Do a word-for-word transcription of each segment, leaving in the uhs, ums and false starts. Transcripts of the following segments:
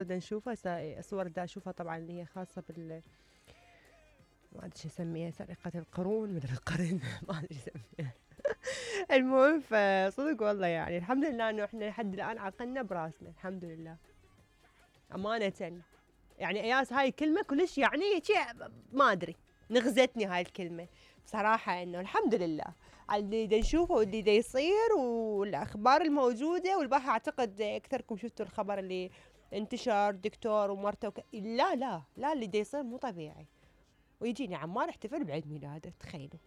دا نشوفها سا- صور دا اشوفها طبعا اللي هي خاصة بال ما ادري شو اسميها، سرقة القرون مدري القرن ما ادري شو اسميها. المهم فصدق والله يعني الحمد لله انه احنا لحد الان عقلنا براسنا الحمد لله امانة. يعني اياس هاي الكلمة كلش يعني شيء ما ادري نغزتني هاي الكلمة بصراحة، انه الحمد لله على اللي دا نشوفه واللي دا يصير والاخبار الموجودة. والبارحة اعتقد اكثركم شفتوا الخبر اللي انتشر دكتور ومرته وك... لا لا لا اللي دا يصير مو طبيعي. ويجيني عمار احتفل بعيد ميلاده تخيلوا.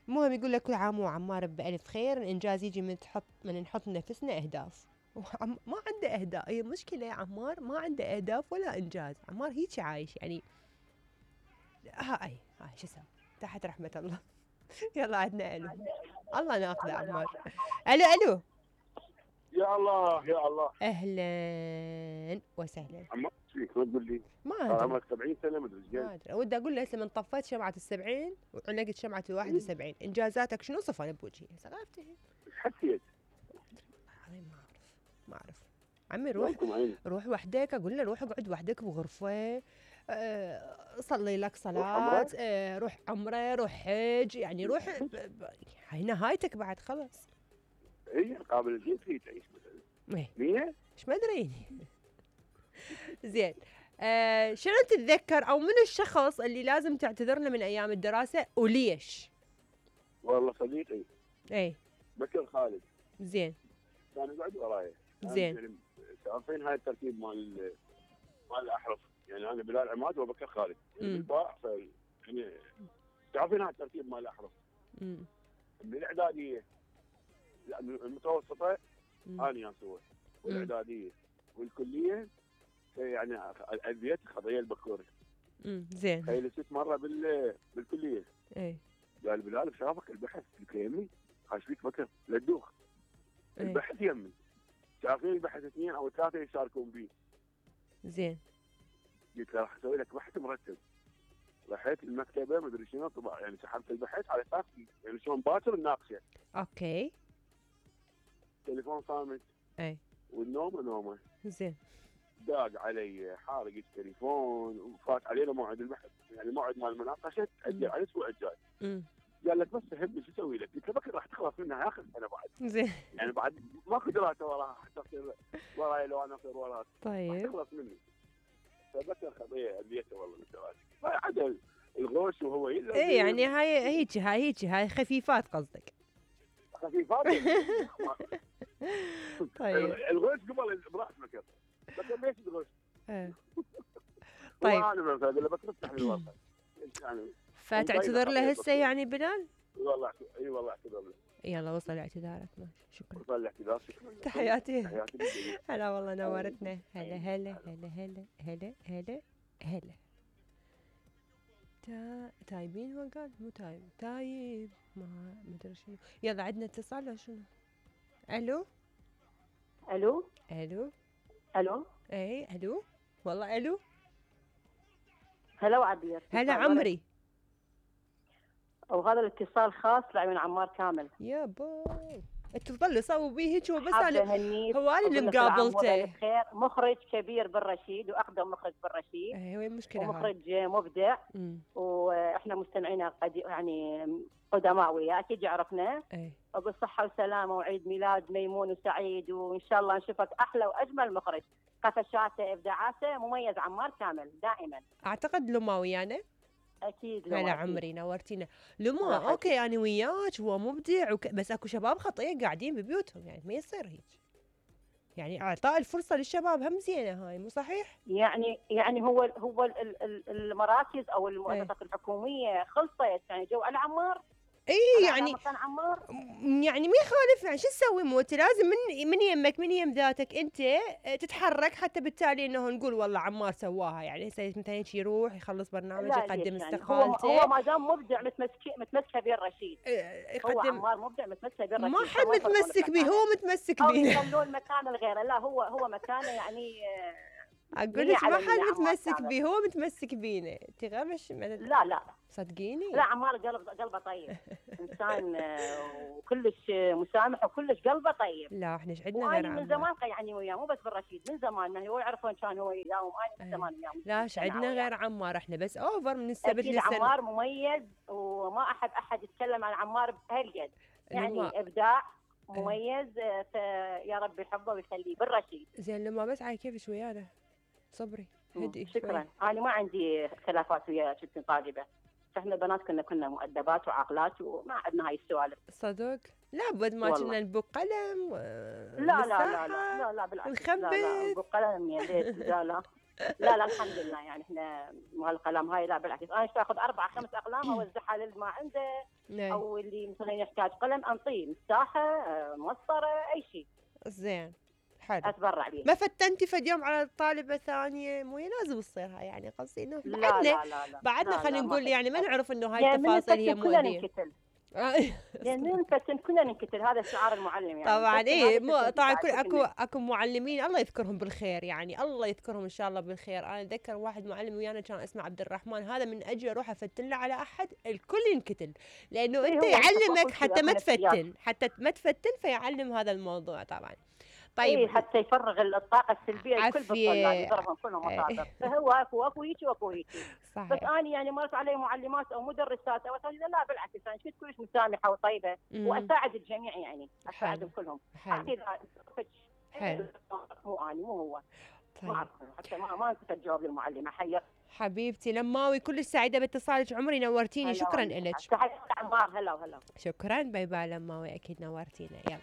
المهم يقول لك كل عام وعمار بألف خير. الانجاز يجي من تحط من نحط لنفسنا اهداف. وعم... ما عنده اهداف، هي مشكلة عمار ما عنده اهداف ولا انجاز. عمار هيك عايش يعني ها اي هاي شو اسمه تحت رحمة الله. يلا عندنا الو. الله ناخذه عمار. الو الو يا الله يا الله اهلا وسهلا. عمار ايش فيك ما تقول لي؟ ما صار ادري عمرك سبعين سنه ما ادري ايش ما قال. ادري ودي اقول له هسه من طفيت شمعة السبعين وعلقت شمعة الواحد وسبعين انجازاتك شنو صفن بوجهي سقفتي؟ ايش حسيت؟ والله ما اعرف ما اعرف. عمي روح يومكم عيني. روح وحدك، اقول له روح اقعد وحدك بغرفة، أه صلي لك روح صلاة، عمره؟ أه روح عمره روح حج يعني روح ب- ب- هاي نهايتك بعد خلص. هي قابل الجيت هي تعيش مثلا ايه مية. ايش ما ادري. زين آه شنو تتذكر او من الشخص اللي لازم تعتذر له من ايام الدراسة وليش؟ والله صديقي ايه بكر خالد زين كان يقعد وراي. زين. يعني عارفين هاي الترتيب مال مال الاحرف، يعني انا بلال عماد وبكر خالد يعني مم. بالباع ف يعني تعرفين هاي الترتيب مال الاحرف. مم. من الاعداديه لا من المتوسطه مم. انا ياسوه والاعداديه والكليه يعني اذيت خضيه البكوري. مم. زين تخيل ست مره بال بالكليه ايه قال بلال بشرفك البحث قلت له يمي خاش فيك بكر لا تدوخ ايه البحث يمي شايفين البحث اثنين او ثلاثه يشاركون فيه. زين قلت له راح اسوي لك بحث مرتب. رحت المكتبه مدري شنو طبع يعني سحبت البحث على اساس يعني شلون باكر نناقشه. اوكي تليفون صامت ايه والنوم نومه. زين داق علي حارق التليفون وفات علينا موعد البحث يعني موعد مال المناقشه تاجل على الاسبوع الجاي. مم. قال لك بس فهمني شو اسوي لك؟ قلت له بكره راح تخلص منها اخر سنه بعد زين يعني بعد ماكو دراسه وراها حتى تصير وراي لو انا اصير وراها راح طيب تخلص مني. فبكر خطيه اذيته والله من الدراسه فعدل الغوش وهو يلا ايه يعني هاي هيك هاي هيك هاي خفيفات قصدك. خفيفات. طيب الغوش قبل براس بكر بكر ليش الغوش؟ ايه طيب. انا مثلا اقول له بكر افتح لي الورقه يعني فتعتذر له هسه يعني بلال؟ والله اي والله اعتذر له. يلا وصل اعتذارك ماشي شكرا. وصل الاعتذار شكرا. تحياتي. تحياتي للجميع. هلا والله نورتنا. هلا هلا هلا هلا هلا هلا هلا. تا... تايبين هو قال مو تايب تايب ما مدري شنو. يلا عندنا اتصال ولا شنو؟ الو الو الو الو اي الو والله الو. هلا وعبير. هلا عمري. وهذا الاتصال خاص لعيون عمار كامل. يا باي انتوا تظلوا سووا بيه هيك وبس حابة انا أهنيك هو انا اللي وأقول لك كل عام وأنت مقابلته. بخير. مخرج كبير بالرشيد واقدم مخرج بالرشيد ايه وين المشكله هاي؟ ومخرج مبدع امم واحنا مستمعينا قد يعني قدماء وياه اكيد يعرفنا. ايه اقول صحه وسلامه وعيد ميلاد ميمون وسعيد وان شاء الله نشوفك احلى واجمل مخرج. قفشاته ابداعاته مميز عمار كامل دائما. اعتقد لما ويانا. اكيد لو هلا أكيد. عمري نورتينا. لما راحتك. اوكي انا وياك هو مبدع وك... بس اكو شباب خطيه قاعدين ببيوتهم يعني ما يصير هيك. يعني اعطاء الفرصه للشباب هم زينه هاي مو صحيح؟ يعني يعني هو هو ال- ال- المراكز او المؤسسات الحكوميه خلصت يعني جو على عمار. اي على يعني مكان عمار. م- يعني ما يخالف يعني شو تسوي مو انت لازم من من يمك من يم ذاتك انت تتحرك حتى بالتالي انه نقول والله عمار سواها يعني هسه مثلا هيك يروح يخلص برنامج لا يقدم ليش يعني هو استقالته. هو ما دام مبدع متمسك متمسكه بيه الرشيد. اه، هو يقدم عمار مبدع متمسكه بيه الرشيد. ما حد متمسك به هو متمسك او به. يخلون مكان الغيره. لا هو هو مكانه يعني آه، اقول هي لك ما على حد مية عمار متمسك كامل. بيه، هو متمسك بينا انت غير مش لا لا صدقيني. لا، عمار قلب قلبه طيب، انسان آه، وكلش مسامح وكلش قلبه طيب. لا احنا ايش عندنا غير وانا من عمار. زمان يعني وياه، مو بس بالرشيد، من زمان ما هو يعرفون كان هو وياهم، انا من أي. زمان وياه. لا ايش عندنا غير عمار، احنا بس اوفر من السبت اكيد للسنه. عمار مميز، وما احب احد يتكلم عن عمار بهالقد، يعني لما ابداع مميز، آه، فيا رب يحبه ويخليه بالرشيد. زين لما بس على كيفش ويانا، صبري هدي شكرا. شوي. انا ما عندي خلافات ويا كنت طالبه، فاحنا البنات كنا كنا مؤدبات وعاقلات وما عندنا هاي السوالف. صدق لابد ما والله. كنا نبق قلم و... لا لا لا لا لا لا بالعكس، لا لا نخبث. بقلم يا ليت، لا لا لا لا الحمد لله، يعني احنا مال القلم هاي لا بالعكس، انا اخذ اربع خمس اقلام اوزعها للي ما عنده، نعم. او اللي مثلا يحتاج قلم انطيه، مساحه آه، مسطره، اي شيء زين حلو. اتبرع به. ما فتنتي فد يوم على طالبة ثانية؟ مو هي لازم تصير هاي، يعني قصدي انه لا بعدنا لا لا لا بعدنا لا خلينا لا، ما نقول يعني ما فتنت. نعرف انه هاي يعني من التفاصيل هي نفتن كلنا مؤذية. ننكتل، لان من نفتن كلنا ننكتل، هذا شعار المعلم يعني. طبعا نفتن ايه هذا مو فتن طبعا بعد كل اكو كلنا. اكو معلمين الله يذكرهم بالخير، يعني الله يذكرهم ان شاء الله بالخير. انا اتذكر واحد معلم ويانا كان اسمه عبد الرحمن، هذا من اجل اروح افتن له على احد الكل ينكتل، لانه إيه انت هو يعلمك كل شيء حتى ما أكو نفسيات. تفتن، حتى ما تفتن فيعلم هذا الموضوع طبعا. طيب طيب حتى يفرغ الطاقه السلبيه الكل عافية. بالطلاب، يضربهم كلهم إيه. مصادر، فهو اكو اكو هيك واكو هيك. بس صحيح. انا يعني مرت علي معلمات او مدرسات او أساتذة، لا بالعكس انا كنت كلش مسامحه وطيبه، مم. واساعد الجميع، يعني اساعدهم حلو. كلهم. حلو. اكيد حلو. مو انا مو هو، ما طيب اعرف حتى ما ما كنت اجاوب للمعلمه. حيا حبيبتي لماوي كلش سعيدة باتصالك عمري، نورتيني. هلا شكرا والله. لك. تحياتي عمار. هلا وهلا. شكرا باي باي لماوي، اكيد نورتينا. يلا